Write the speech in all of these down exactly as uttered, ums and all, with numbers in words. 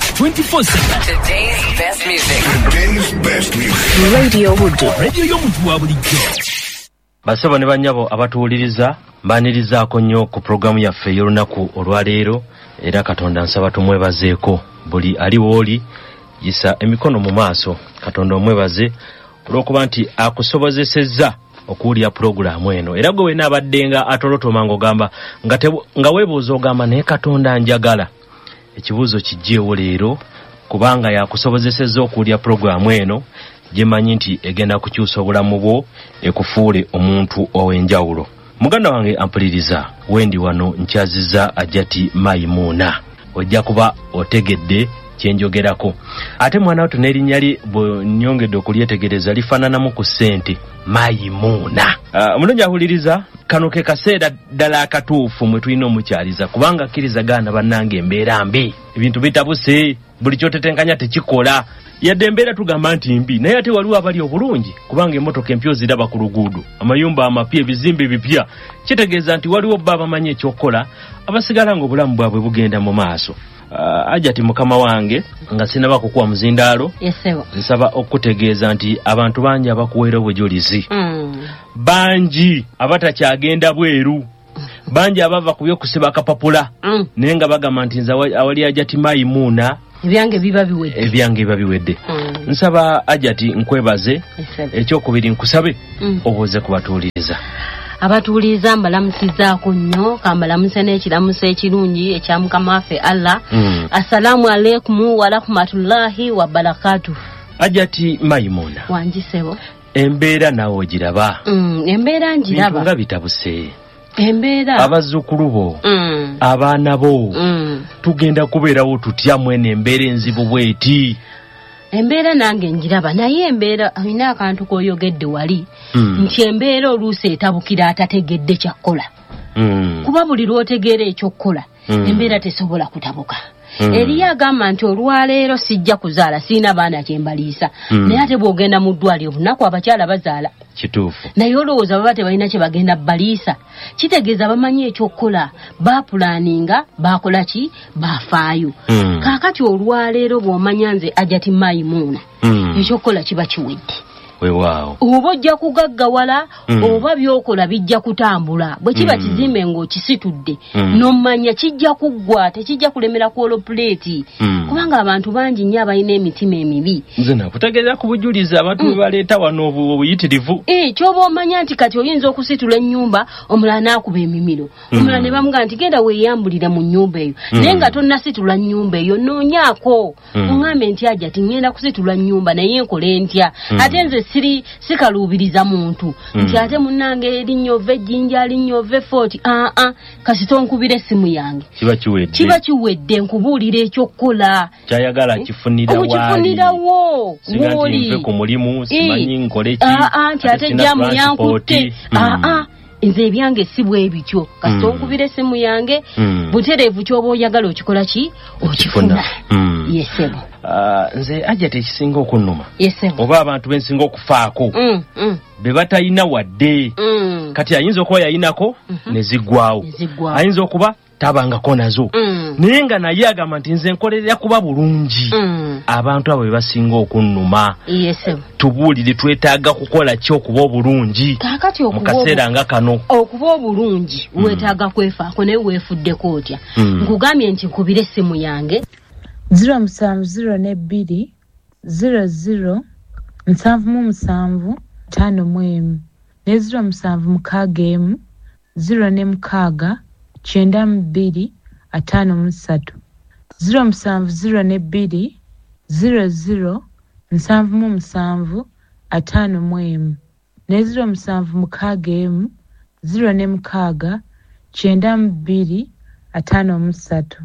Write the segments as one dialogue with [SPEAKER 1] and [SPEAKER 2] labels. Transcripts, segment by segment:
[SPEAKER 1] twenty-four seven.
[SPEAKER 2] Today's best music.
[SPEAKER 3] Today's best music.
[SPEAKER 2] Radio Buddu.
[SPEAKER 1] Radio y'omuntu wa bulijjo.
[SPEAKER 4] Basebo ne bannyabo abatuwuliriza, mbaanirizaako nnyo ku pulogulaamu yaffe ey'olunaku olwaleero, era Katonda nsaba tumwebazeeko. Buli ali w'oli yisa emikono mu maaso, Katonda omwebaze olw'okuba nti akusobozesezza okuwulira pulogulaamu eno. Era gwe wenna abadde nga atolotoma ng'ogamba nga, nga weebuuza ogamba naye Katonda njagala. Ekibuuzo kijjeewo leero kubanga yakusobozesezza okuwulira pulogulaamu eno gye mmanyi nti egenda kukyusa obulamu bwo ekufuule omuntu ow'enjawulo. Muganda wange ampuliriza, wendi wano nkyazizza Hajjati Mayimuuna, ojja kuba otegedde kyenjogerako. Ate mwana wattu n'erinnya lye bwe nnyongedde okulyetegereza lifaananamu ku ssente, Mayimuuna. Omulungi ahuliriza, kano ke kaseera ddala akatuufu mwe tulina omukyaliza, kubanga akkiriza gaana bannange embeera mbi, ebintu bitabuse, buli kyotetenkanya tekikola. Yadde embeera tugamba nti mbi, naye ate waliwo abali obulungi, kubanga emmotoka empya oziraba ku luguudo, amayumba amapya, ebizimbe bipya. Kitegeeza nti waliwo bba abamanyi ekyokukola, abasigala ng'obulamu bwabwe bugenda mu maaso. Uh, Hajjati mukama wange, nga sinaba kukuwa muzindaalo, nsaba okutegeeza nti abantu bangi abakuweera obujulizi,
[SPEAKER 5] mm.
[SPEAKER 4] bangi abatakyagenda bweru, bangi abava ku by'okusiba akapapula,
[SPEAKER 5] mm.
[SPEAKER 4] naye nga bagamba nti nze awali Hajjati Mayimuuna
[SPEAKER 5] ebyange biba biwedde,
[SPEAKER 4] ebyange biba biwedde.
[SPEAKER 5] Mm.
[SPEAKER 4] Nsaba Hajjati nkwebaze, ekyokubiri nkusabe
[SPEAKER 5] mm.
[SPEAKER 4] obuuze ku batuwuliriza.
[SPEAKER 5] Abatuwuliriza mbalamusizaako nnyo, kambalamuse n'ekiramuso ekirungi ekya Mukama waffe Allah.
[SPEAKER 4] Mm.
[SPEAKER 5] Assalaamu aleikum warahmatullahi wabarakatuh.
[SPEAKER 4] Hajjati Mayimuuna,
[SPEAKER 5] Wangi ssebo.
[SPEAKER 4] Embeera naawe ogiraba?
[SPEAKER 5] Mm, embeera njiraba.
[SPEAKER 4] Bintu nga bitabuse.
[SPEAKER 5] Embeera.
[SPEAKER 4] Abazzukulu bo,
[SPEAKER 5] mm.
[SPEAKER 4] abaana bo,
[SPEAKER 5] mm.
[SPEAKER 4] tugenda kubeerawo tutya mwene embeera enzibu bw'eti?
[SPEAKER 5] Embeera nange njiraba, naye embeera olina akantu k'oyogedde wali,
[SPEAKER 4] mm.
[SPEAKER 5] nti embeera oluusi etabukira atategedde kyakkola.
[SPEAKER 4] Mm.
[SPEAKER 5] Kuba buli lw'otegeera ekyokkola,
[SPEAKER 4] mm.
[SPEAKER 5] embeera tesobola kutabuka.
[SPEAKER 4] Mm.
[SPEAKER 5] Eriyo agamba nti olwaleero sijja kuzaala, sirina baana kye mbaliisa.
[SPEAKER 4] Mm.
[SPEAKER 5] Naye ate bw'ogenda mu ddwaliro bunaku abakyala bazaala.
[SPEAKER 4] Kituufu.
[SPEAKER 5] Naye olowooza baba tebalina kye bagenda baliisa. Kitegeeza bamanyi ekyokukola, baapulaaninga, baakola ki, baafaayo.
[SPEAKER 4] Mm.
[SPEAKER 5] Kaakati olwaleero bw'omanya nze Hajjati Mayimuuna,
[SPEAKER 4] mm.
[SPEAKER 5] ekyokukola kiba kiwedde.
[SPEAKER 4] Weewaawo.
[SPEAKER 5] Oba ojja kugaggawala,
[SPEAKER 4] mm.
[SPEAKER 5] oba by'okola bijja kutambula. Bwe kiba
[SPEAKER 4] mm.
[SPEAKER 5] kizimbe ng'okisitudde,
[SPEAKER 4] mm.
[SPEAKER 5] n'omanya kijja kuggwa, tekijja kulemera ku olopuleeti.
[SPEAKER 4] Mm.
[SPEAKER 5] Kubanga abantu bangi nnyo abalina emitima emibi.
[SPEAKER 4] Nze nakutegeeza ku bujulizi abantu
[SPEAKER 5] Mm.
[SPEAKER 4] bwe baleeta wano obuyitirivu.
[SPEAKER 5] Eh, ky'oba omanya nti kati oyinza okusitula ennyumba, omulala n'akuba emimiro. Omulala
[SPEAKER 4] Mm.
[SPEAKER 5] ne bamugamba nti genda weeyambulire mu nnyumba eyo.
[SPEAKER 4] Mm.
[SPEAKER 5] Naye nga tonnasitula nnyumba eyo, noonyaako.
[SPEAKER 4] Mm.
[SPEAKER 5] Oŋŋambe nti Hajjati ŋŋenda kusitula nnyumba naye nkole ntya?
[SPEAKER 4] Mm.
[SPEAKER 5] Ate nze siri sikaluubiriza muntu.
[SPEAKER 4] Mm.
[SPEAKER 5] Nti ate munnange erinnya ova Ejjinja, linnya ova Fort, aa ah, kasita onkubira essimu yange.
[SPEAKER 4] Kiba kiwedde.
[SPEAKER 5] Kiba kiwedde, nkubuulira ekyokukola.
[SPEAKER 4] Kyayagala kifunira waali.
[SPEAKER 5] Okifunirawo
[SPEAKER 4] Singa nti
[SPEAKER 5] wooli.
[SPEAKER 4] nve ku mulimu, simanyi nkole ki.
[SPEAKER 5] Aa ah, nti ate
[SPEAKER 4] sina
[SPEAKER 5] jjaamu
[SPEAKER 4] transport.
[SPEAKER 5] yankutte.
[SPEAKER 4] Mm.
[SPEAKER 5] Aa ah, nze ebyange si bwe bityo. Kasita
[SPEAKER 4] Mm.
[SPEAKER 5] onkubira essimu yange,
[SPEAKER 4] Mm.
[SPEAKER 5] butereevu ky'oba oyagala okikola ki? Okifuna.
[SPEAKER 4] Mm.
[SPEAKER 5] Yes ssebo.
[SPEAKER 4] Uh, nze Hajjati ekisinga okunnuma,
[SPEAKER 5] Yes ssebo.
[SPEAKER 4] oba abantu bensinga okufaako,
[SPEAKER 5] Mm, mm,
[SPEAKER 4] be batalina wadde.
[SPEAKER 5] mm.
[SPEAKER 4] Kati ayinza okuba yayinako
[SPEAKER 5] mm -hmm.
[SPEAKER 4] ne ziggwawo,
[SPEAKER 5] Ne ziggwawo.
[SPEAKER 4] ayinza okuba tabangako nazo,
[SPEAKER 5] Mm.
[SPEAKER 4] naye nga naye agamba nti nze nkolerera kuba bulungi.
[SPEAKER 5] Mm.
[SPEAKER 4] Abantu abo be basinga okunnuma.
[SPEAKER 5] Yes ssebo.
[SPEAKER 4] Tubuulire, twetaaga kukola ki okuba obulungi
[SPEAKER 5] Kaakati
[SPEAKER 4] mu
[SPEAKER 5] okuba
[SPEAKER 4] kaseera nga kano?
[SPEAKER 5] okuba obulungi
[SPEAKER 4] Mm.
[SPEAKER 5] weetaaga kwefaako, naye weefuddeko otya?
[SPEAKER 4] Mm.
[SPEAKER 5] Nkugambye nti nkubira essimu yange.
[SPEAKER 6] Zero musanvu zero ne bbiri zero zero nsanvu mu musanvu ttaano mu emu ne zero musanvu mukaaga emu zero ne mukaaga kyenda mu bbiri ataano mu ssatu, zero musanvu zero ne bbiri zero zero nsanvu mu musanvu ataano mu emu ne zero musanvu mukaaga emu zero ne mukaaga kyenda mu bbiri ataano mu ssatu.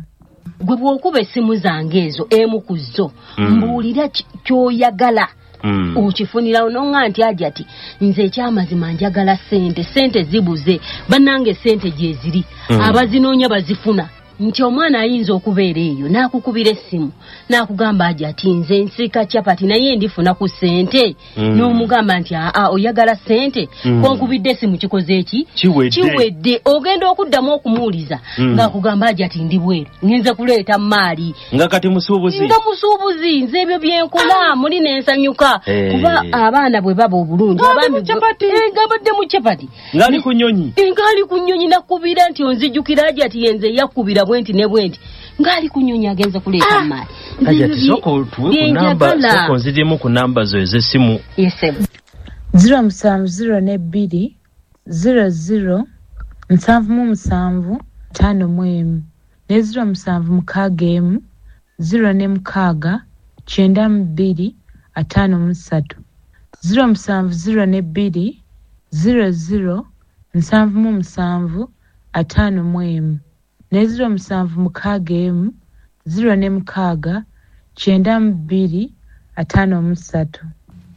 [SPEAKER 5] Gwe bw'okuba essimu zange ezo, emu ku zo,
[SPEAKER 4] Mm.
[SPEAKER 5] mbuulira ky'oyagala.
[SPEAKER 4] Mm.
[SPEAKER 5] Okifunirawo n'oŋŋamba nti Hajjati nze ekyamazima njagala ssente, ssente zibuze, bannange ssente gye ziri,
[SPEAKER 4] Mm.
[SPEAKER 5] abazinoonya bazifuna. Nti omwana ayinza okubeera eyo n'akukubira essimu n'akugamba aja ati nze nsiika chapati naye ndifuna ku ssente.
[SPEAKER 4] Mm.
[SPEAKER 5] N'omugamba nti aa oyagala ssente
[SPEAKER 4] Mm.
[SPEAKER 5] konkubidde essimu kikoze eki
[SPEAKER 4] Kiwedde.
[SPEAKER 5] Kiwedde. Ogenda okuddamu okumuwuliza
[SPEAKER 4] Mm.
[SPEAKER 5] ng'akugamba aja ati ndi bweru ngenze kuleeta maali.
[SPEAKER 4] Nga kati musuubuzi.
[SPEAKER 5] Nga musuubuzi nze ebyo byenkola muli nensanyuka.
[SPEAKER 4] Eh.
[SPEAKER 5] Kuba abaana bwe baba obulungi
[SPEAKER 4] Ng'ali
[SPEAKER 5] abaami
[SPEAKER 4] mu chapati.
[SPEAKER 5] Eh, ng'abadde mu chapati.
[SPEAKER 4] Ng'ali ku nnyonyi.
[SPEAKER 5] Eh, ng'ali ku nnyonyi nakubira nti onzijjukira aja ati yenze yakubira bwenti ne bwenti. Ng'ali ku nnyonyi agenze kuleeta
[SPEAKER 4] Ah.
[SPEAKER 5] maali.
[SPEAKER 4] Aja ati sooka otuwe ku namba, sooka onziremu ku namba zo ez'essimu.
[SPEAKER 5] Yes, sir.
[SPEAKER 6] zero musanvu zero ne bbiri zero zero nsanvu mu musanvu ttaano mu emu ne zero musanvu mukaaga emu zero ne mukaaga kyenda mu bbiri ataano mu ssatu zero musanvu zero ne bbiri zero zero nsanvu mu musanvu ataano mu emu ne zero musanvu mukaaga emu zero ne mukaaga kyenda mu bbiri ataano mu ssatu.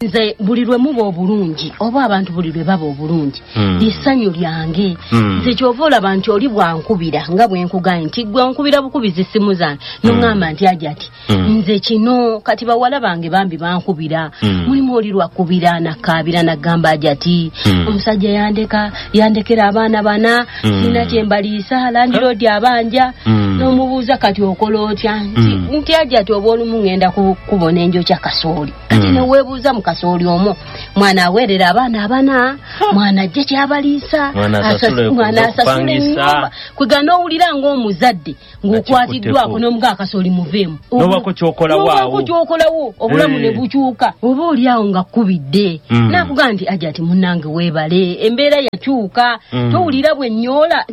[SPEAKER 5] Nze buli lwe muba obulungi oba abantu buli lwe baba obulungi
[SPEAKER 4] Mm.
[SPEAKER 5] essanyu lyange.
[SPEAKER 4] Mm.
[SPEAKER 5] Nze kyova olaba nti oli bwankubira nga bwe nkugambye nti gwe nkubira bukubizi essimu zange n'oŋŋamba nti aja ati
[SPEAKER 4] Mm.
[SPEAKER 5] nze kino kati bawala bange bambi bankubira.
[SPEAKER 4] Mm.
[SPEAKER 5] Mulimu oli lwakubira nakkaabira nagamba aja ati
[SPEAKER 4] Mm.
[SPEAKER 5] omusajja yandeka yandekera abaana bana
[SPEAKER 4] Mm.
[SPEAKER 5] sirina kye mbaliisa landiroodi abanja.
[SPEAKER 4] Mm.
[SPEAKER 5] N'omubuuza kati okola otya nti
[SPEAKER 4] Mm.
[SPEAKER 5] nti aja ati oba olumu ŋŋenda ku kkubo n'enjokya kasooli kati
[SPEAKER 4] Mm.
[SPEAKER 5] ne weebuuza mu kasooli omwo mwana aweerera abaana abana mwana ajje kyabaliisa
[SPEAKER 4] Mwana asasule
[SPEAKER 5] asas- mwana asasule
[SPEAKER 4] okupangisa.
[SPEAKER 5] ennyumba kwega n'owulira ng'omuzadde ng'okwatiddwako
[SPEAKER 4] Nakikutteko.
[SPEAKER 5] n'omuga akasooli muveemu
[SPEAKER 4] N'obaako ky'okolawo awo.
[SPEAKER 5] N'obaako ky'okolawo obulamu
[SPEAKER 4] Eh.
[SPEAKER 5] ne bukyuka oba oli awo nga kkubidde
[SPEAKER 4] Mm.
[SPEAKER 5] n'akugamba nti aja ati munnange weebale embeera yakyuka
[SPEAKER 4] Mm.
[SPEAKER 5] towulira bwe nnyoola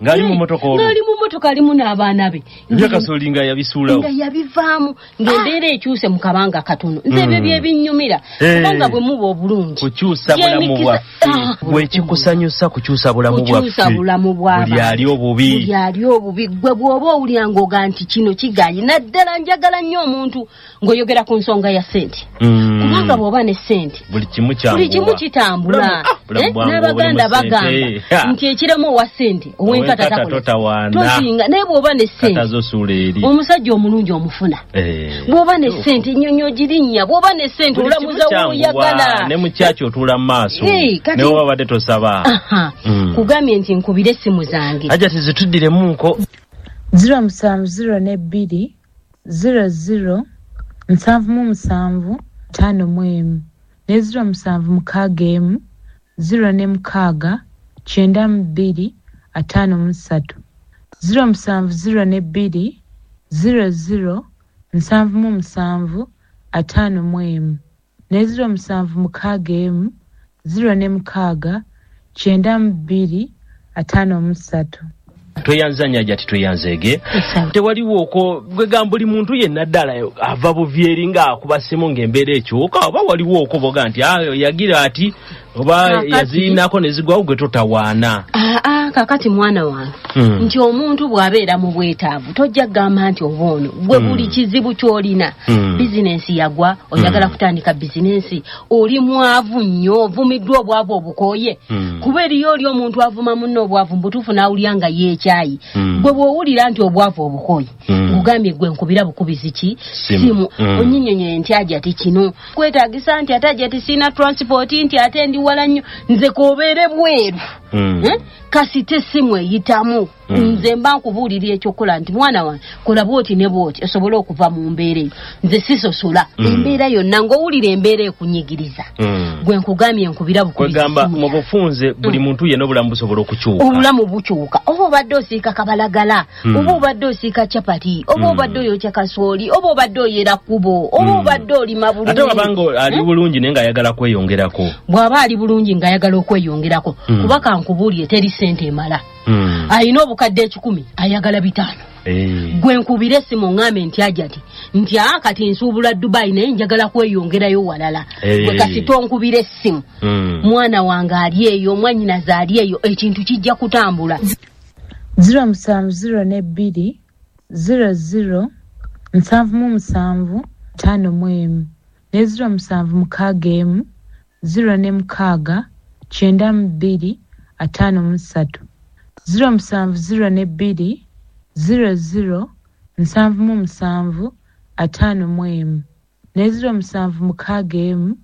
[SPEAKER 4] Ng'ali mu mmotoka olwo.
[SPEAKER 5] Ng'ali mu mmotoka alimu n'abaana be
[SPEAKER 4] Ebyakasooli nga yabisuulawo.
[SPEAKER 5] Nga yabivaamu ng'embeera ekyuse mu kabanga katono nze ebyo
[SPEAKER 4] Mm.
[SPEAKER 5] bye binnyumira
[SPEAKER 4] Eh.
[SPEAKER 5] kubanga bwe muba obulungi
[SPEAKER 4] Kukyusa bulamu
[SPEAKER 5] Gyemikisa-
[SPEAKER 4] bwaffe.
[SPEAKER 5] Ah.
[SPEAKER 4] Bwe kikusanyusa kukyusa bulamu
[SPEAKER 5] Kukyusa
[SPEAKER 4] bwaffe.
[SPEAKER 5] bulamu bw'abantu.
[SPEAKER 4] Buli ali obubi.
[SPEAKER 5] Buli ali obubi gwe bw'oba owulira ng'oga nti kino kigaanyi naddala njagala nnyo omuntu ng'oyogera ku nsonga ya ssente.
[SPEAKER 4] Mm.
[SPEAKER 5] Kubanga bw'oba ne ssente
[SPEAKER 4] buli kimu kyanguwa.
[SPEAKER 5] Buli kimu kitambula.
[SPEAKER 4] Bulamu- ah, bulamu
[SPEAKER 5] Eh,
[SPEAKER 4] bwangu
[SPEAKER 5] n'Abaganda
[SPEAKER 4] obulimu ssente.
[SPEAKER 5] bagamba nti ekiremu owa ssente ow'enkata
[SPEAKER 4] Ow'enkata
[SPEAKER 5] takola.
[SPEAKER 4] totawaana.
[SPEAKER 5] Tosinga naye bw'oba ne ssente
[SPEAKER 4] Kata zosuula eri.
[SPEAKER 5] omusajja omulungi omufuna.
[SPEAKER 4] Eh.
[SPEAKER 5] Bw'oba ne ssente ennyonyi ogirinnya bw'oba ne ssente
[SPEAKER 4] Buli kimu
[SPEAKER 5] olamuza
[SPEAKER 4] kyanguwa.
[SPEAKER 5] w'oyagala.
[SPEAKER 4] Ne mu kyaki otuula mu maaso.
[SPEAKER 5] Eh, kati-
[SPEAKER 4] Ne bw'oba obadde tosaba.
[SPEAKER 5] Aha.
[SPEAKER 4] Mm.
[SPEAKER 5] Kugambye nti nkubire essimu zange.
[SPEAKER 4] Aja tizituddiremunko.
[SPEAKER 6] zero musanvu zero ne bbiri zero zero nsanvu mu musanvu ttaano mu emu ne zero musanvu mukaaga emu zero ne mukaaga kyenda mu bbiri ataano mu ssatu zero musanvu zero ne bbiri zero zero nsanvu mu musanvu ataano mu emu ne zero musanvu mukaaga emu zero ne mukaaga kyenda mu bbiri ataano mu ssatu.
[SPEAKER 4] Tweyanza nnyo aja titweyanzeege. Tewaliwo okwo gwe buli muntu yenna ddala ava buvi eri ng'akuba ssimu ng'embeera ekyuka oba waliwo okwo boga nti ah, yagira ati oba
[SPEAKER 5] Kaakati-
[SPEAKER 4] yazirinako ne zigwawo gwe totawaana.
[SPEAKER 5] Aa kaakati mwana wange
[SPEAKER 4] Mm.
[SPEAKER 5] nti omuntu bw'abeera mu bwetaavu tojja kugamba nti oba ono gwe
[SPEAKER 4] Mm.
[SPEAKER 5] buli kizibu ky'olina
[SPEAKER 4] Mm.
[SPEAKER 5] bizinensi yagwa oyagala
[SPEAKER 4] Mm.
[SPEAKER 5] kutandika bizinensi oli mwavu nnyo ovumiddwa obwavu obukooye
[SPEAKER 4] Mm.
[SPEAKER 5] kuba eriyo oli omuntu avuma munne obwavu mu butuufu n'awulira nga yeekyayi
[SPEAKER 4] Mm.
[SPEAKER 5] gwe bw'owulira nti obwavu obukooye
[SPEAKER 4] Mm.
[SPEAKER 5] nkugambye gwe nkubira bukubizi ki
[SPEAKER 4] Simu. Mm.
[SPEAKER 5] onnyinyonnyole nti aja ati kino kwetaagisa nti ate aja ati sirina transport nti ate ndi wala nnyo nze k'obeere bweru
[SPEAKER 4] Mm.
[SPEAKER 5] Eh? Kasita essimu eyitamu
[SPEAKER 4] Mm.
[SPEAKER 5] nze mba nkubuulira ekyokukola nti mwana wange kola bw'oti ne bw'oti osobole okuva mu mbeera eyo nze sisosola
[SPEAKER 4] Mm.
[SPEAKER 5] embeera yonna ng'owulira embeera ekunyigiriza
[SPEAKER 4] Mm.
[SPEAKER 5] gwe nkugambye nkubira bukubizi
[SPEAKER 4] Kwegamba
[SPEAKER 5] ssimu
[SPEAKER 4] mu
[SPEAKER 5] yange.
[SPEAKER 4] bufunze buli muntu yenna obulamu busobola okukyuka.
[SPEAKER 5] Obulamu bukyuka oba obadde osiika kabalagala
[SPEAKER 4] Mm.
[SPEAKER 5] oba obadde osiika capati oba
[SPEAKER 4] Mm.
[SPEAKER 5] obadde oyokya kasooli oba obadde oyera kkubo oba
[SPEAKER 4] Mm.
[SPEAKER 5] obadde olima bulungi
[SPEAKER 4] Ate wabanga ali
[SPEAKER 5] Eh?
[SPEAKER 4] bulungi naye ng'ayagala kweyongerako.
[SPEAKER 5] Bw'aba ali bulungi ng'ayagala okweyongerako
[SPEAKER 4] Mm.
[SPEAKER 5] kuba kankubuulire teri ssente emala.
[SPEAKER 4] Mm.
[SPEAKER 5] Alina obukadde ekikumi ayagala bitaano.
[SPEAKER 4] Eh.
[SPEAKER 5] Gwe nkubira essimu ŋŋambe nti aja ati nti aa kati nsuubula Dubai naye njagala kweyongerayo walala.
[SPEAKER 4] Eh.
[SPEAKER 5] Gwe kasita onkubira essimu
[SPEAKER 4] Mm.
[SPEAKER 5] mwana wange ali eyo mwannyinaze ali eyo ekintu kijja kutambula.
[SPEAKER 6] zero musanvu zero ne bbiri zero zero nsanvu mu musanvu ttaano mu emu ne zero musanvu mukaaga emu zero ne mukaaga kyenda mu bbiri ataano mu ssatu zero musanvu zero ne bbiri zero zero nsanvu mu musanvu ataano mu emu ne zero musanvu mukaaga emu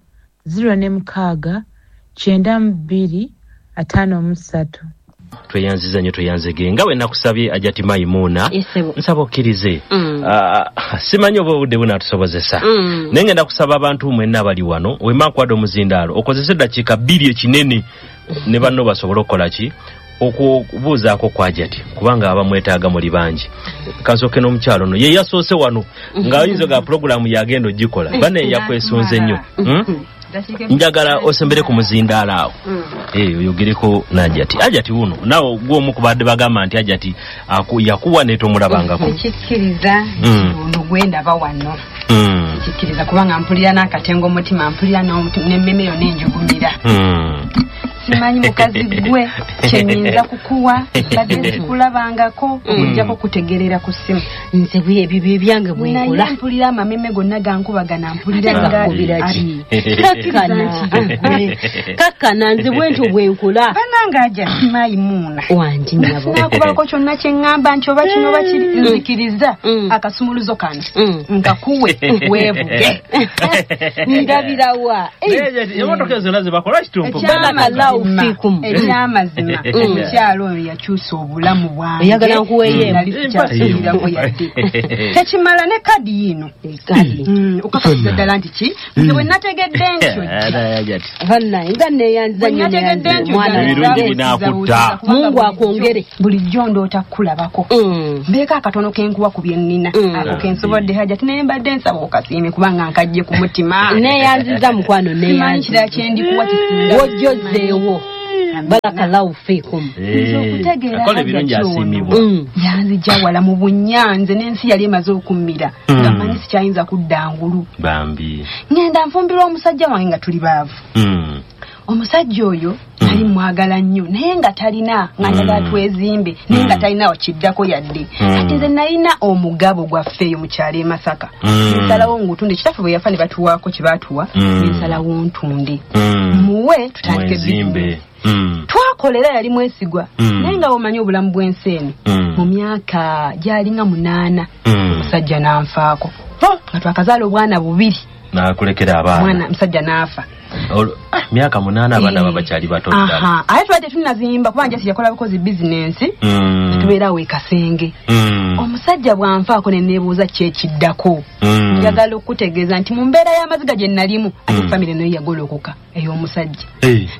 [SPEAKER 6] zero ne mukaaga kyenda mu bbiri ataano mu ssatu.
[SPEAKER 4] Tweyanziza nnyo, tweyanzege nga bwe nakusabye Hajati Maimuna, nsaba okkirize. mm. uh, simanyi oba obudde bunaatusobozesa, mm. naye ngenda kusaba abantu mwenna abali wano, wemma nkuwadde omuzindaalo okozese eddakiika bbiri ekinene ne banno basobole okukola ki, okubuuzaako ku Hajati, kubanga abamwetaaga muli bangi. Kansooke n'omukyalo ono ye yasoose wano ng'ayinza ga pulogulaamu yagenda ogikola, banne yakwesunze nnyo. hmm? Njagala osembere ku muzindaalo awo, eh, oyogereko n'Hajati. Hajati wuno naawe gw'omu ku badde bagamba nti Hajati yakuwa ne tomulabangako.
[SPEAKER 7] Nkikkiriza ono gwendaba wano, nkikkiriza kubanga mpulira n'akatengo omutima, mpulira n'emmeme yonna enjugumira. Simanyi mukazi gwe kyenyinza kukuwa, badde sikulabangako okuggyako kutegerera ku ssimu.
[SPEAKER 5] Nze bwe ebyo ebyange bwe nkola.
[SPEAKER 7] Naye mpulira amameme gonna gankubagana, mpulira nga
[SPEAKER 5] kakkana kakkana, nze bwentyo bwe nkola.
[SPEAKER 7] Bannange Hajati Maimuna
[SPEAKER 5] wangi nnyabo,
[SPEAKER 7] nakubaako kyonna kye ŋŋamba nti oba kino oba kiri, nzikiriza akasumuluzo kano nkakuwe weevuge.
[SPEAKER 5] Ndabirawa
[SPEAKER 4] emmotoka ezo zonna ze bakola kitumpu.
[SPEAKER 7] Ekyamazima omukyalo oyo yakyusa obulamu bwange,
[SPEAKER 5] oyagala nkuweeyo
[SPEAKER 7] nali sikyasuubirako yadde. Tekimala ne kadi yino okakasiza ddala nti ki, nze bwe nategedde ntyo
[SPEAKER 5] bannaye nga neeyanziza nnyo,
[SPEAKER 4] ebirungi binaakutta,
[SPEAKER 5] Mungu akwongere.
[SPEAKER 7] Bulijjo ndoota kukulabako, mbeeko akatono ke nkuwa ku bye nnina, ako ke nsobodde Hajati, naye mbadde nsaba okasiime kubanga nkajje ku mutima.
[SPEAKER 5] Neeyanziza mukwano,
[SPEAKER 7] neeyanziza kirala kye ndikuwa kisinga
[SPEAKER 5] wojjozzeewo. Barakallahu fiikum.
[SPEAKER 7] Nze
[SPEAKER 4] akola ebirungi asiimibwa.
[SPEAKER 7] Yanzija wala mu bunyanze n'ensi yali emaze okummira, nga mmanyi sikyayinza kudda ngulu.
[SPEAKER 4] Bambi
[SPEAKER 7] ngenda nfumbirwa omusajja wange nga tuli baavu. Omusajja oyo nali mwagala nnyo, naye nga talina, nga njagala twezimbe, naye nga talina wakiddako yadde. Kati nze nalina omugabo gwaffe eyo mu kyalo e Masaka, nsalawo ngutunde. Kitaffe bwe yafa ne batuwaako kye baatuwa, nsalawo ntunde muwe tutandike bizinesi. Twakolera yali mwesigwa, naye nga omanyi obulamu bw'ensi eno, mu myaka gyalinga munaana omusajja n'anfaako, nga twakazaala obwana bubiri,
[SPEAKER 4] n'akulekera abaana,
[SPEAKER 7] mwana musajja n'afa.
[SPEAKER 4] Myaka munaana abaana babakyali bato ddala.
[SPEAKER 7] Ate tubadde tunazimba kuba njasi yakola bukozi bizinensi, tubeera awo e Kasenge. Omusajja bw'anfaako ne neebuuza ki ekiddako. Njagala okutegeeza nti mu mbeera y'amaziga gye nalimu, ate famire nayo yagolokoka ey'omusajja,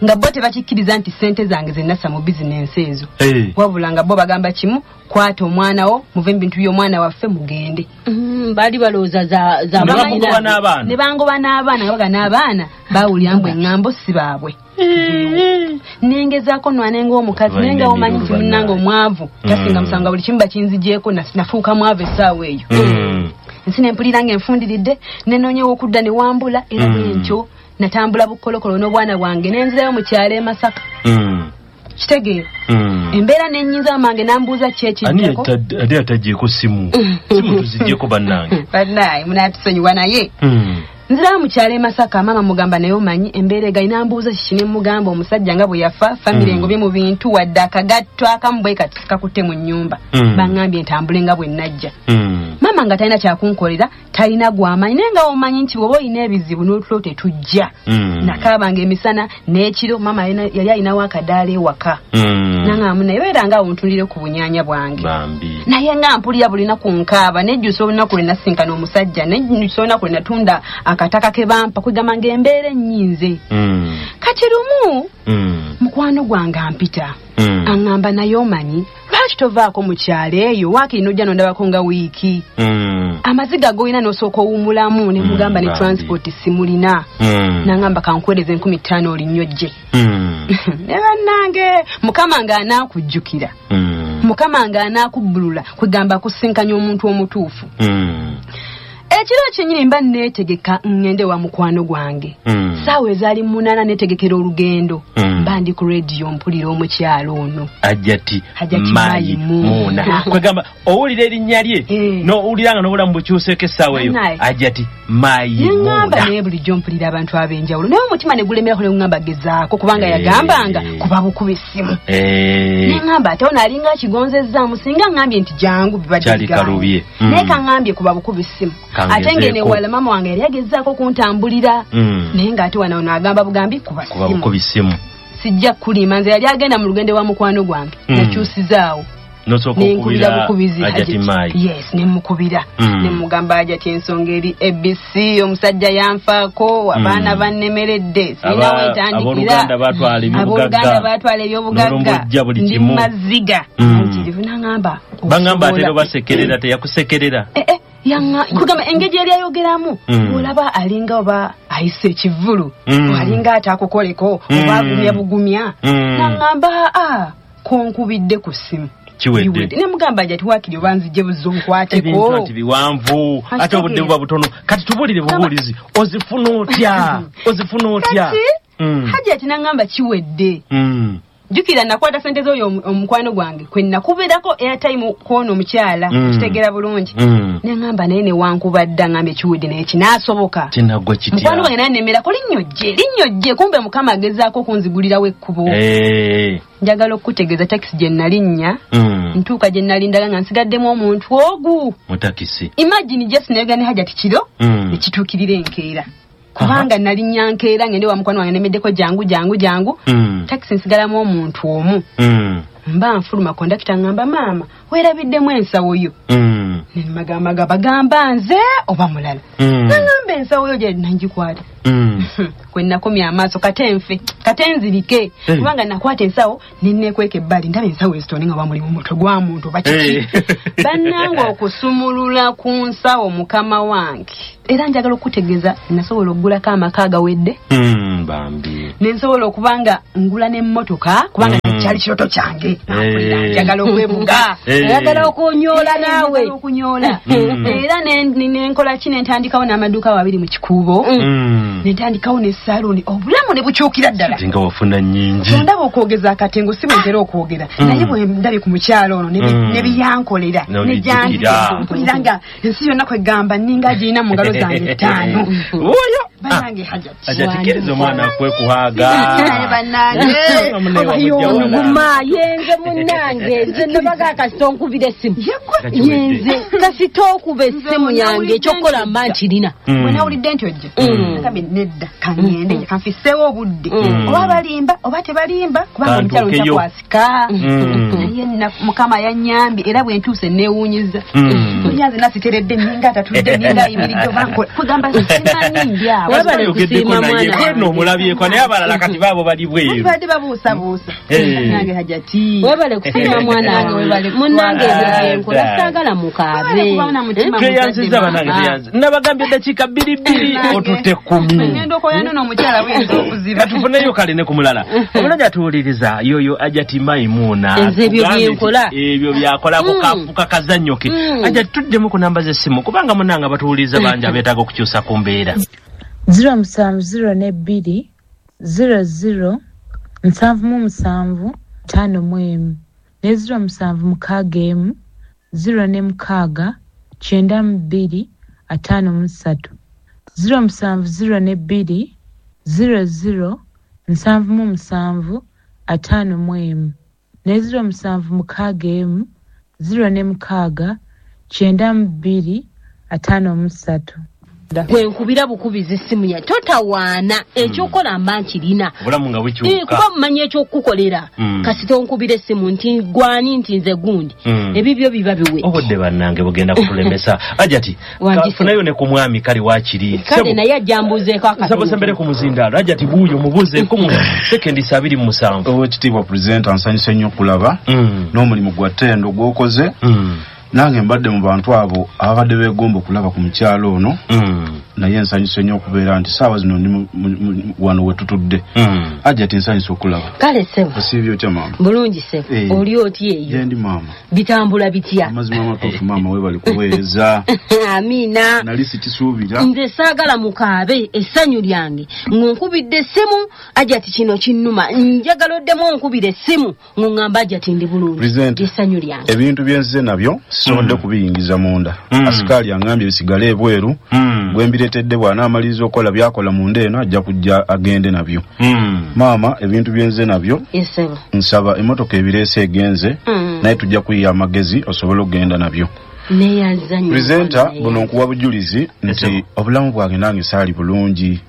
[SPEAKER 7] nga bo tebakikkiriza nti ssente zange ze nassa mu bizinensi ezo, wabula nga bo bagamba kimu, kwata omwana wo, muve mu bintu by'omwana waffe mugende.
[SPEAKER 5] Baali balowooza za
[SPEAKER 7] ne bangoba n'abaana, nga baga n'abaana bawulira mbu eŋŋambo si baabwe. Nengezaako nwane ng'omukazi, naye nga omanyi nti munnange omwavu tasinga musango, buli kimu bakinzigyeko, nafuuka mwavu essaawa eyo. Ensi ne mpulira ng'enfundiridde, nenoonyewo okudda ne wambula, era bwe ntyo natambula bukolokolo n'obwana bwange nenzirayo mu kyalo e Masaka. Kitegeera embeera nennyinza mange nambuuza ki ekiddako.
[SPEAKER 4] Ani atagyeko simu? Simu tuzigyeko bannange.
[SPEAKER 7] Bannaye munaatusonyiwa, naye nzirayo mu kyalo e Masaka, maama mugamba naye omanyi embeera egayi, nambuuza kiki, ne mugamba omusajja nga bwe yafa, famire engobye mu bintu, wadde akagatto akamu bwe kati sikakutte mu nnyumba, baŋŋambye ntambule nga bwe najja. Maama nga talina kyakunkolera, talina gwamanyi, naye nga omanyi nti bw'oba olina ebizibu n'otulo tetujja. Nakaabanga emisana n'ekiro, maama yali alinawo akadaala ewaka, naŋŋamba naye beera nga awo ntundire ku bunyaanya bwange. Naye nga mpulira buli lunaku nkaaba, nejjusa olunaku lwe nasinkana omusajja, nejjusa olunaku lwe natunda akataka ke bampa, kwegamba ng'embeera ennyinze. Kati lumu mukwano gwange ampita, aŋŋamba naye omanyi lwaki tovaako mu kyalo eyo, waakiri n'ojja n'ondabako nga wiiki, amaziga g'olina n'osooka owummulamu. Ne mugamba ne transport simulina, n'aŋŋamba kankuweereze enkumi ttaano olinnyo jje. Ne bannange Mukama ng'anaakujjukira, Mukama ng'anaakubbulula, kwegamba akusinkanya omuntu omutuufu. Ekiro kyennyini mba neetegeka ŋŋende wa mukwano gwange,
[SPEAKER 4] Mm.
[SPEAKER 7] Saawa ezaali munaana netegekera olugendo.
[SPEAKER 4] Mm.
[SPEAKER 7] Mba ndi ku radio mpulira omukyalo ono.
[SPEAKER 4] Hajati
[SPEAKER 7] Hajati
[SPEAKER 4] Maimuna. Kwegamba owulira erinnya lye
[SPEAKER 7] Eh.
[SPEAKER 4] n'owulira nga n'obulamu bukyuseeko essaawa eyo.
[SPEAKER 7] Bannaye.
[SPEAKER 4] Hajati Maimuna.
[SPEAKER 7] Neŋŋamba naye bulijjo mpulira abantu ab'enjawulo naye omutima ne gulemerako ne guŋŋamba gezaako kubanga
[SPEAKER 4] Eh.
[SPEAKER 7] yagambanga kuba bukuba essimu.
[SPEAKER 4] Eh.
[SPEAKER 7] Neŋŋamba ate ono alinga akigonzezzaamu singa ŋŋambye nti jangu bibadde
[SPEAKER 4] Kyali
[SPEAKER 7] bigambo.
[SPEAKER 4] kalubye. Mm.
[SPEAKER 7] Naye kaŋŋambye kuba bukuba essimu.
[SPEAKER 4] Kangezeeko.
[SPEAKER 7] Ate ng'eno ewala maama wange yali agezaako kuntambulira.
[SPEAKER 4] Mm.
[SPEAKER 7] Naye ng'ate wano ono agamba bugambi kuba
[SPEAKER 4] Kuba
[SPEAKER 7] ssimu.
[SPEAKER 4] bukuba essimu.
[SPEAKER 7] Sijja kukulima nze yali agenda mu lugendo wa mukwano gwange.
[SPEAKER 4] Mm.
[SPEAKER 7] Nakyusizaawo.
[SPEAKER 4] N'osooka
[SPEAKER 7] Nenkubira
[SPEAKER 4] okubira
[SPEAKER 7] bukubizi
[SPEAKER 4] Hajati
[SPEAKER 7] Hajati.
[SPEAKER 4] Mai.
[SPEAKER 7] Yes, ne mukubira.
[SPEAKER 4] Mm.
[SPEAKER 7] Ne mugamba Hajati ensonga eri A B C, omusajja yanfaako, abaana
[SPEAKER 4] Mm.
[SPEAKER 7] bannemeredde, sirina
[SPEAKER 4] Aba-
[SPEAKER 7] we ntandikira.
[SPEAKER 4] Abooluganda baatwala ebyobugagga.
[SPEAKER 7] Abooluganda baatwala ebyobugagga.
[SPEAKER 4] N'olumbujja buli
[SPEAKER 7] Ndi
[SPEAKER 4] kimu.
[SPEAKER 7] maziga.
[SPEAKER 4] Mm.
[SPEAKER 7] Mpitirivu n'aŋŋamba,
[SPEAKER 4] Bangamba ate
[SPEAKER 7] osobola.
[SPEAKER 4] basekerera teyakusekerera.
[SPEAKER 7] Eh, eh, yanga kugamba engeri yali ayogeramu
[SPEAKER 4] Mm.
[SPEAKER 7] olaba alinga oba ayise ekivvulu
[SPEAKER 4] Mm.
[SPEAKER 7] alinga ataakukoleko
[SPEAKER 4] Mm.
[SPEAKER 7] oba agumya bugumya
[SPEAKER 4] Mm.
[SPEAKER 7] n'aŋŋamba a konkubidde ku ssimu
[SPEAKER 4] Kiwedde.
[SPEAKER 7] Ne mugamba Hajati waakiri oba nzije buzzo nkwateko.
[SPEAKER 4] Ebintu nti biwanvu ate obudde buba butono kati tubuulire bubuulizi ozifuna otya ozifuna otya
[SPEAKER 7] Kati
[SPEAKER 4] Mm.
[SPEAKER 7] Hajati n'aŋŋamba kiwedde.
[SPEAKER 4] Mm.
[SPEAKER 7] Jjukira nakwata sente z'oyo omu- omukwano gwange kwe nakubeerako airtime kw'ono omukyala
[SPEAKER 4] Mm.
[SPEAKER 7] okitegeera bulungi.
[SPEAKER 4] Mm.
[SPEAKER 7] Ne ŋŋamba naye ne wankubadda ŋŋamba ekiwedde naye kinaasoboka.
[SPEAKER 4] Kinaggwa kitya?
[SPEAKER 7] Mukwano gwange naye nnemerako linnyo jje linnyo jje kumbe Mukama agezaako okunzigulirawo ekkubo.
[SPEAKER 4] Eh.
[SPEAKER 7] Njagala okukutegeeza takisi gye nalinnya
[SPEAKER 4] Mm.
[SPEAKER 7] ntuuka gye nalindaga nga nsigaddemu omuntu ogu.
[SPEAKER 4] Mu takisi.
[SPEAKER 7] Imagine just nayogera ne Hajati kiro
[SPEAKER 4] Mm.
[SPEAKER 7] ekituukirira enkeera. Kubanga nalinnya nkeera ngende wa mukwano wange nemeddeko jangu jangu jangu.
[SPEAKER 4] Mm.
[SPEAKER 7] Takisi nsigalamu omuntu omu.
[SPEAKER 4] Mm.
[SPEAKER 7] Mba nfuluma kondakita ŋŋamba maama weerabiddemu ensawo yo.
[SPEAKER 4] Mm.
[SPEAKER 7] Ne magamba bagamba nze oba mulala.
[SPEAKER 4] Mm.
[SPEAKER 7] Nangamba ensawo yo gye nangikwata.
[SPEAKER 4] Mm.
[SPEAKER 7] Kwe nakomya amaaso kate nfe kate nzirike
[SPEAKER 4] Hey.
[SPEAKER 7] kubanga nakwata ensawo ne neekweka ebbali ndaba ensawo ezitone nga bamuli mu mutwe gwa muntu oba kiki.
[SPEAKER 4] Hey.
[SPEAKER 7] Bannange okusumulula ku nsawo mukama wange era njagala okutegeeza nasobola okugulako amaka agawedde.
[SPEAKER 4] Mm, bambi.
[SPEAKER 7] Ne nsobola okuba nga ngula n'emmotoka kubanga
[SPEAKER 4] Mm.
[SPEAKER 7] kyali kirooto kyange.
[SPEAKER 4] Hey.
[SPEAKER 7] Njagala okwebuga.
[SPEAKER 4] Hey.
[SPEAKER 5] Oyagala okunyoola naawe.
[SPEAKER 7] Njagala okunyoola.
[SPEAKER 4] Mm.
[SPEAKER 7] Era ne- ne- ne nkola ki ne ntandikawo n'amaduuka babiri mu kikuubo.
[SPEAKER 4] Mm.
[SPEAKER 7] Ne ntandikawo ne saluuni obulamu ne bukyukira ddala.
[SPEAKER 4] Ate nga wafuna nnyingi.
[SPEAKER 7] Ndaba okwogeza akatengo si bwe ntera okwogera
[SPEAKER 4] Mm.
[SPEAKER 7] naye bwe ndabye ku mukyalo ono ne bi-
[SPEAKER 4] Mm.
[SPEAKER 7] ne biyankolera
[SPEAKER 4] No,
[SPEAKER 7] ne
[SPEAKER 4] bijjukira.
[SPEAKER 7] gyandika mpulira nga ensi yonna kwegamba nninga agirina mu ngalo zange ttaano.
[SPEAKER 4] Oyo.
[SPEAKER 7] Bannange Hajati.
[SPEAKER 4] Hajati kkiriza omwana akwekuhaaga.
[SPEAKER 7] Naye bannange.
[SPEAKER 4] Nga munne wamujja wala.
[SPEAKER 5] Guma yenze munnange nze nabaga kasita onkubira essimu.
[SPEAKER 4] Nga kiwedde.
[SPEAKER 5] Yenze kasita okuba essimu yange ekyokukola mba nkirina.
[SPEAKER 4] Mm.
[SPEAKER 7] Bwe nawulidde nti ojja
[SPEAKER 4] Mm.
[SPEAKER 7] nagambye nedda kaŋŋende kanfisseewo obudde
[SPEAKER 4] Mm.
[SPEAKER 7] oba balimba oba tebalimba kubanga omukyalo
[SPEAKER 4] Kantuukeyo.
[SPEAKER 7] ntakwasika.
[SPEAKER 4] Mm.
[SPEAKER 7] Naye nna- Mukama yannyambye era bwe ntuuse neewuunyiza.
[SPEAKER 4] Mm.
[SPEAKER 7] Mpulira nze nasiteredde nninga atatudde nninga ayimiridde oba nkola kugamba simanyi ndi awo.
[SPEAKER 5] Webale
[SPEAKER 4] Oyogeddeko
[SPEAKER 5] kusiima
[SPEAKER 4] naye
[SPEAKER 5] mwana
[SPEAKER 4] gwe nno
[SPEAKER 5] wange.
[SPEAKER 4] omulabyeko naye abalala kati baabo bali bweru.
[SPEAKER 7] Badde babuusabuusa.
[SPEAKER 4] Eh.
[SPEAKER 7] Nange Hajati.
[SPEAKER 5] Webale kusiima mwana
[SPEAKER 7] Nange
[SPEAKER 5] wange.
[SPEAKER 7] webale
[SPEAKER 5] Munnange ebyo
[SPEAKER 7] kutwala.
[SPEAKER 5] byenkola saagala mukaabe.
[SPEAKER 7] Webale kuba na mutima
[SPEAKER 4] Tweyanzizza
[SPEAKER 7] muzadde
[SPEAKER 4] bannange
[SPEAKER 7] maama.
[SPEAKER 4] tweyanze. Nabagambye eddakiika bbiri bbiri
[SPEAKER 7] Nange.
[SPEAKER 4] otutte kkumi.
[SPEAKER 7] Ngenda okoya nno omukyala buyinza okuziba.
[SPEAKER 4] Katufuneyo kale ne ku mulala. Omulala atuwuliriza yoyo Hajati Maimuna.
[SPEAKER 5] Nze ebyo
[SPEAKER 4] Atugambye nti
[SPEAKER 5] byenkola.
[SPEAKER 4] Ebyo byakolako
[SPEAKER 5] Mm.
[SPEAKER 4] kafuka kazannyo ke.
[SPEAKER 5] Mm.
[SPEAKER 4] Hajati tuddemu ku namba z'essimu kubanga munnange abatuwuliriza bangi abeetaaga okukyusa ku mbeera.
[SPEAKER 6] zero musanvu zero ne bbiri zero zero nsanvu mu musanvu ttaano mu emu ne zero musanvu mukaaga emu zero ne mukaaga kyenda mu bbiri ataano mu ssatu zero musanvu zero ne bbiri zero zero nsanvu mu musanvu ataano mu emu ne zero musanvu mukaaga emu zero ne mukaaga kyenda mu bbiri ataano mu ssatu.
[SPEAKER 5] Gwe nkubira bukubizi essimu ya totawaana ekyokukola mba nkirina.
[SPEAKER 4] Obulamu nga
[SPEAKER 5] Eh,
[SPEAKER 4] bukyuka.
[SPEAKER 5] kuba mumanyi ekyokukukolera
[SPEAKER 4] Mm.
[SPEAKER 5] kasita onkubira essimu nti gwani nti nze gundi
[SPEAKER 4] Mm.
[SPEAKER 5] ebibyo biba biwedde.
[SPEAKER 4] Obudde bannange bugenda kutulemesa. Hajati
[SPEAKER 5] Wangi
[SPEAKER 4] kafunayo ne ku mwami kale waakiri.
[SPEAKER 5] Kale naye ajja mbuuzeeko
[SPEAKER 4] Nsaba osembere ku muzindaalo. Hajati buuyo mubuuzeeko mu sekendi abiri mu musanvu.
[SPEAKER 8] Oweekitiibwa pulezidenti ansanyuse nnyo okulaba
[SPEAKER 4] Mm.
[SPEAKER 8] n'omulimu gwa ttendo gw'okoze.
[SPEAKER 4] Mm.
[SPEAKER 8] Nange mbadde mu bantu abo ababadde beegomba okulaba ku mukyalo ono
[SPEAKER 4] Mm.
[SPEAKER 8] Naye nsanyuse nnyo okubeera nti saawa zino ndi mu- mu- mu- wano we tutudde.
[SPEAKER 4] Mm.
[SPEAKER 8] Ajati, nsanyuse okulaba.
[SPEAKER 5] Kale ssebo.
[SPEAKER 8] Osiibye otya, maama?
[SPEAKER 5] Bulungi ssebo.
[SPEAKER 8] Eh.
[SPEAKER 5] Oli otya eyo?
[SPEAKER 8] Gyendi, maama.
[SPEAKER 5] Bitambula bitya?
[SPEAKER 8] Amazima amatuufu, maama, weebale kuweereza.
[SPEAKER 5] Amiina.
[SPEAKER 8] Nali sikisuubira.
[SPEAKER 5] Nze saagala mukaabe essanyu lyange ng'onkubidde essimu, Ajati, kino kinnuma, njagala oddemu onkubira essimu ng'oŋŋamba, Ajati, ndi bulungi.
[SPEAKER 8] Presenter.
[SPEAKER 5] Essanyu lyange.
[SPEAKER 8] Ebintu byenzize nabyo sisobodde
[SPEAKER 4] Mm.
[SPEAKER 8] kubiyingiza munda.
[SPEAKER 4] Mm.
[SPEAKER 8] Asikaali aŋŋambye bisigale ebweru.
[SPEAKER 4] Mm.
[SPEAKER 8] Gwe mbireetedde bw'anaamaliriza okukola byakola munda eno, ajja kujja agende nabyo.
[SPEAKER 4] Mm.
[SPEAKER 8] Maama, ebintu byenzize nabyo,
[SPEAKER 5] Esebo.
[SPEAKER 8] nsaba emotoka ebireese egenze,
[SPEAKER 5] Mm.
[SPEAKER 8] naye tujja kuyiya amagezi osobole okugenda nabyo.
[SPEAKER 5] Neyanza nnyo.
[SPEAKER 8] Presenter,
[SPEAKER 5] mwana.
[SPEAKER 8] buno nkuwa bujulizi nti
[SPEAKER 4] Esebo.
[SPEAKER 8] obulamu bwange nange saali bulungi.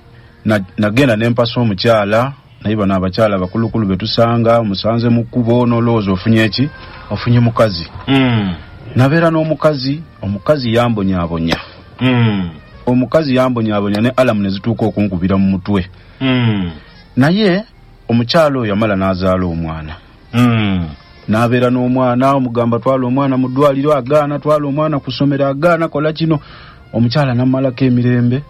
[SPEAKER 8] Na- nagenda ne mpasa omukyala, naye bano abakyala abakulukulu betusanga, musanze mu kkubo n'olowooza ofunye eki, ofunye mukazi.
[SPEAKER 4] Mm.
[SPEAKER 8] Nabeera n'omukazi, omukazi yambonyaabonya.
[SPEAKER 4] Mm.
[SPEAKER 8] Omukazi yambonyaabonya ne alarm ne zituuka okunkubira mu mutwe.
[SPEAKER 4] Mm.
[SPEAKER 8] Naye omukyala oyo yamala n'azaala omwana.
[SPEAKER 4] Mm.
[SPEAKER 8] N'abeera n'omwana, omugamba twala omwana mu ddwaliro agaana, twala omwana ku ssomero agaana, kola kino. Omukyala nammalako emirembe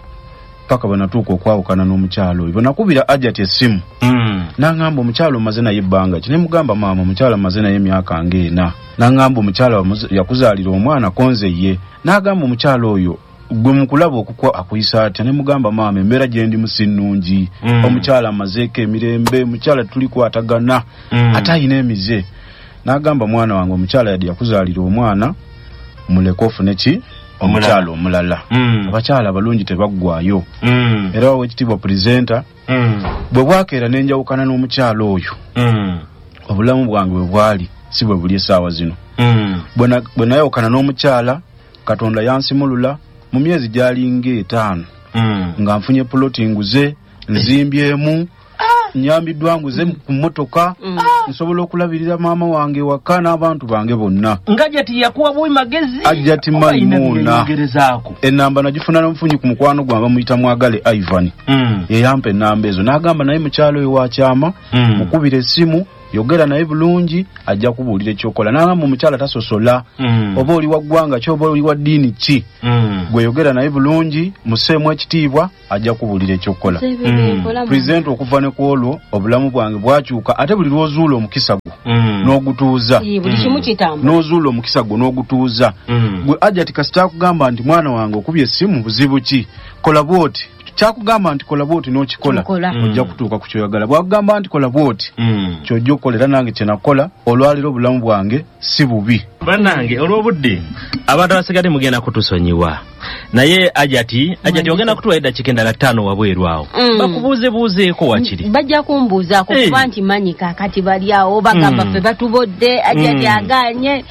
[SPEAKER 8] paka bwe natuuka okwawukana n'omukyala oyo. Bwe nakubira Ajati essimu,
[SPEAKER 4] Mm.
[SPEAKER 8] n'aŋŋamba, omukyala omaze naye ebbanga ki? Ne mugamba, maama, omukyala maze naye emyaka ng'ena. N'aŋŋamba, omukyala wamuze- yakuzaalira omwana konze ye. N'agamba, omukyala oyo gwe mukulaba okukwa akuyisa atya? Ne mugamba, maama, embeera gye ndimu si nnungi.
[SPEAKER 4] Mm.
[SPEAKER 8] Omukyala amazeeko emirembe, omukyala tulikwatagana,
[SPEAKER 4] Mm.
[SPEAKER 8] ate ayina emize. N'agamba, mwana wange, omukyala yadde yakuzaalira omwana, muleke ofune ki, omukyala omulala.
[SPEAKER 4] Mm.
[SPEAKER 8] Abakyala abalungi tebaggwayo.
[SPEAKER 4] Mm.
[SPEAKER 8] Era owekitiibwa presenter,
[SPEAKER 4] Mm.
[SPEAKER 8] bwe bwakeera n'enjawukana n'omukyala oyo,
[SPEAKER 4] Mm.
[SPEAKER 8] obulamu bwange bwe bwali si bwe buli essaawa zino.
[SPEAKER 4] Mm.
[SPEAKER 8] Bwe na- bwe nayawukana n'omukyala, Katonda yansimulula mu myezi gyalinga etaano
[SPEAKER 4] Mm.
[SPEAKER 8] nga nfunye puloti, nguze, nzimbyemu, nyambiddwa, nguze ku mmotoka, nsobola okulabirira maama wange waka n'abantu bange bonna.
[SPEAKER 4] Nga Ajati yakuwa buwi magezi?
[SPEAKER 8] Ajati
[SPEAKER 4] Oba alina
[SPEAKER 8] Maimuna.
[SPEAKER 4] byeyeyogerezaako?
[SPEAKER 8] Enamba nagifuna nomufunyi ku mukwano gwange bamuyita Mwagale Ivan.
[SPEAKER 4] Mm.
[SPEAKER 8] Yeyampa enamba ezo n'agamba, naye mukyalo oyo wakyama,
[SPEAKER 4] Mm.
[SPEAKER 8] mukubira essimu, yogera naye bulungi, ajja kubuulira ekyokola. N'agamba omukyala tasosola,
[SPEAKER 4] Mm.
[SPEAKER 8] oba oli wa ggwanga ki, oba oli wa ddiini ki,
[SPEAKER 4] Mm.
[SPEAKER 8] gwe yogera naye bulungi, museemu ekitiibwa, ajja kubuulira ekyokukola.
[SPEAKER 4] Mm.
[SPEAKER 8] Pulezidenti, okuva ne ku olwo obulamu bwange bwakyuka. Ate buli lw'ozuula omukisa gwo
[SPEAKER 4] Mm.
[SPEAKER 8] n'ogutuuza,
[SPEAKER 5] Buli kimu kitambula.
[SPEAKER 8] n'ozuula omukisa gwo n'ogutuuza,
[SPEAKER 4] Mm.
[SPEAKER 8] gwe Ajati kasita akugamba nti, mwana wange, okubye essimu, buzibu ki, kola bwoti, kyakugamba nti kola bwoti n'okikola,
[SPEAKER 5] Kikola.
[SPEAKER 4] Mm.
[SPEAKER 8] ojja kutuuka ku kyoyagala. Bwakugamba nti kola bwoti,
[SPEAKER 4] Mm.
[SPEAKER 8] kyojja okukola. Era nange kyenakola, olwaliro obulamu bwange si bubi.
[SPEAKER 4] Bannange, olw'obudde abantu abasigadde mugenda kutusonyiwa, naye Ajati, Ajati, ogenda kutuwa eddakiika endala ttaano wabweru awo,
[SPEAKER 5] Mm.
[SPEAKER 4] bakubuuzebuuzeeko wakiri.
[SPEAKER 5] Bajja kumbuuzaako
[SPEAKER 4] Eh.
[SPEAKER 5] kuba nti manyi kaakati bali awo bagamba
[SPEAKER 4] Mm.
[SPEAKER 5] ffe batubodde, Ajati
[SPEAKER 4] Mm.
[SPEAKER 5] aganye.